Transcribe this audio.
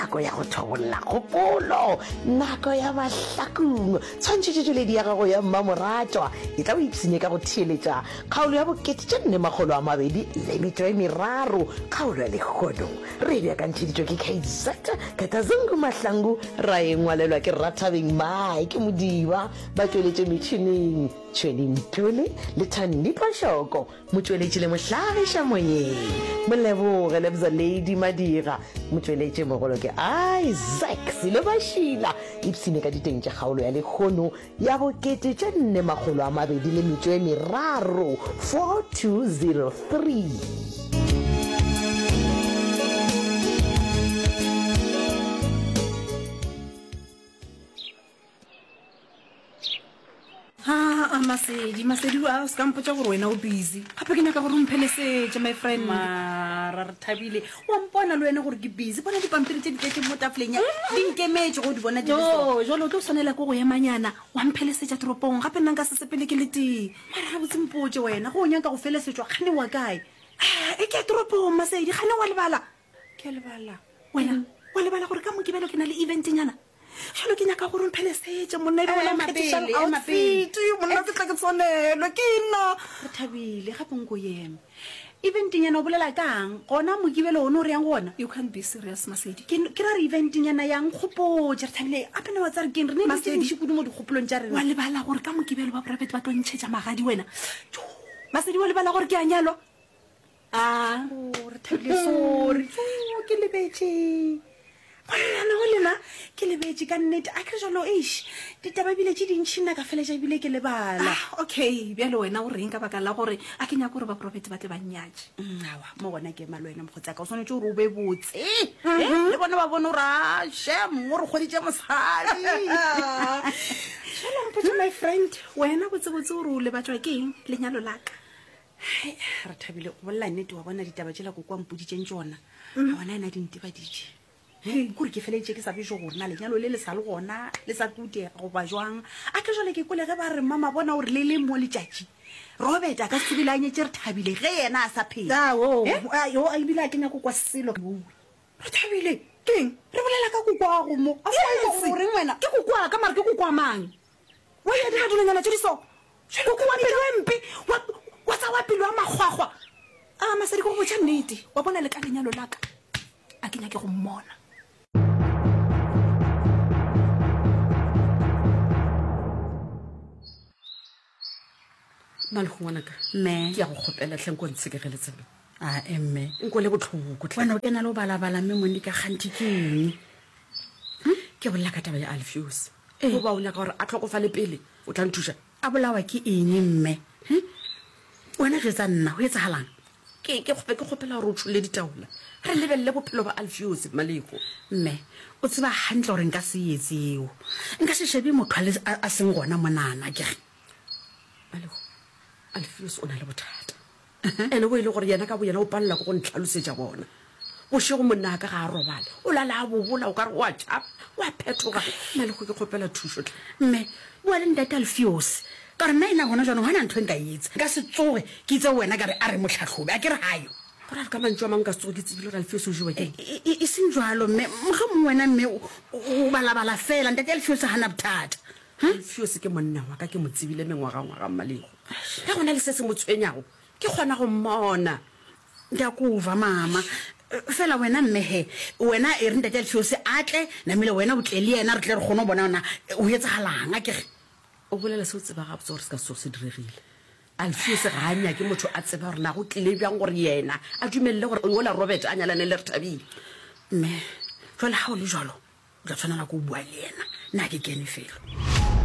nako ya go thobolla kgopolo, nako ya mahlakong. Tshwantšhetšotšweledi ya gago ya mmamoratwa e tla o ipshine ka go theeletša kgaolo ya bokete tše nne makgolo a mabedi le metšo e meraro. Kgaolo ya lehono re e beakantšheditšwe ke KZ Katazungu Mahlangu, ra e ngwalelwa ke Rathabeng Mike Modiba, ba tšweletše metšhineng Tšhwene Ntuli le Thandi Phošoko. Motšweletši le mohlagiša moyeng, Moleboge Lebza Lady Madira. Motšweletši mogolo ke Isaac Silobašila. Ipshine ka diteng tša kgaolo ya lehono ya bokete tše nne makgolo a mabedi le metšo e meraro, 4203. Aa, Masedi, Masedi, a o se ka mpotša gore wena o busy. Gape ke nyaka gore o mphelesetše, my friend. Mara re thabile, wa mpona le wena gore ke busy. Bona dipampiri tše di tletšeng mo tafoleng ya, di nkemetše go di bona di le so. No, jwale o tlo swanela ke go emanyana wa mphelesetša toropong. Gape nna nka se sepele ke le tee. Mara gabotse mpotše wena, ge o nyaka go felesetšwa kgane wa kae? Ah, e ke ya toropong, Masedi, kgane wa lebala. Ke a lebala. Wena, wa lebala gore ka Mokibelo ke na le event-nyana? Jalo ke nyaka gore o mphelesetše monna e be wena Ema nkgethišang pele, ema pele. outfit monna ke tla ke tshwanelwe ke nna. Re thabile gape nko eme. Eventnyana o bolela kang? Gona Mokibelo one o re yang go ona? You can't be serious Masedi. Ke ke ra re eventnyana yang nkgopotše re thabile gape na wa tsare keng re ne dilo tše Masedi. dintši kudu mo dikgopolong tša rena. Wa lebala gore ka Mokibelo ba private ba tlo ntšhetša magadi wena. Tjoo. Masedi wa lebala gore ke a nyalwa? A Oh, re thabile sorry. Tjoo, ke lebetše. Ngwana go lena ke lebetše ka nnete. A ke re jalo eish ditaba ebile tše dintšhi nna ka feletša ebile ke lebala. Ah, okay, bjale wena o reng ka baka la gore a ke nyake gore ba profete ba tle ba nnyatše? Mm, awa mo gona ke ema le wena mokgotsi ka o swanetše gore o be botse. Eh, le bona ba bone gore a shem o re kgweditše mosadi. Jalo mpotše my friend, wena botsebotse o re o lebatšwa ke eng lenyalo la ka? Hai, re thabile go bolela nnete wa bona ditaba tšela koko a mpoditšeng tšona ga bona ena di ntebaditše kore ke feleditše ke sa bešo gore na lenyalo le le sa le gona le sa tlo diega goba jwang a ke jale ke kwele ge ba re mama bona gore le le mo letšatši robert a ka se tsebile a nyetse re thabile ge yena a sa phela Ao, Eh? a- yo, a ebile a ke nyako kwa selo. Re thabile Keng? re bolela ka kokoago mo a sa Yes. gore reng wena Ke kokoa ka mara ke kokoa mang? Wa ya dira dilonyana tše di so. Koko wa pelo e mpe, wa, wa tsa wa pelo ya makgwakgwa. A, Masedi, ke go botša nnete, wa bona le ka lenyalo la ka, a ke nyake go mmona. Malego ngwanaka, Mme. ke ya go kgopela tlhe nko ntshekegele tsebe. A e mme. Nko le botlhoko tlhe. Wena o kena le o balabala mme Monica kganthe ke eng? Ke bolela ka taba ya Alfios. Goba o nyaka gore a tlhokofale pele o tla nthuša? A bolawa ke eng mme? Hm? Wena jwetsa nna, go etsagalang? Ke, ke, ke kgopela gore o tšholle ditaola. Re lebelele bophelo ba Alfios, Mmalego. Mme, o tseba hantle gore nka se etse eo. Nka se shebe motho a le, a, a seng gona monana, ke re. Malego, Alfios o na le bothata. Ene bo e le gore yena ka boyena o palelwa ke go ntlhalosetša bona. Bošego monna wa ka ga a robale, o lala a bobola o ka re o a tšhaba, o a phethoga. Mmalego ke kgopela thušo hle. Mme, bua le ntate Alfios, ka gore nna ena gona jwanong ga na ntho e nka e etsa. Nka se tsoge ke itse go wena ka re a re mo hlahlobe, a ke re ga yo. Go ra re ka mantšu a mangwe nka se tsoge ke tsebile gore Alfios o jewa ke eng? E, e, e seng jwalo mme, mohlomongwe wena mme o, o balabala fela, ntate Alfios ga na bothata. Alfios ke monna wa ka, ke mo tsebile mengwagangwaga, Mmalego. Ge go na le se se mo tshwenyago, ke kgona go mmona. Ke a kova, mama. Fela wena mme he, wena e re ntate Alfios a tle, namile wena o tle le yena, re tle re kgone go bona gona go etsagalang, a ke re. O bolela se o tseba gabotse gore se ka se tsoge se diregile. Alfios ga a nyake motho a tseba gore na go tlile bjang gore yena a dumelele gore yola Robert a nyalane le Rethabile. Mme, jwale ga o le jwalo, O tla tshwanela ke go bua le yena. Nna ga ke kene felo.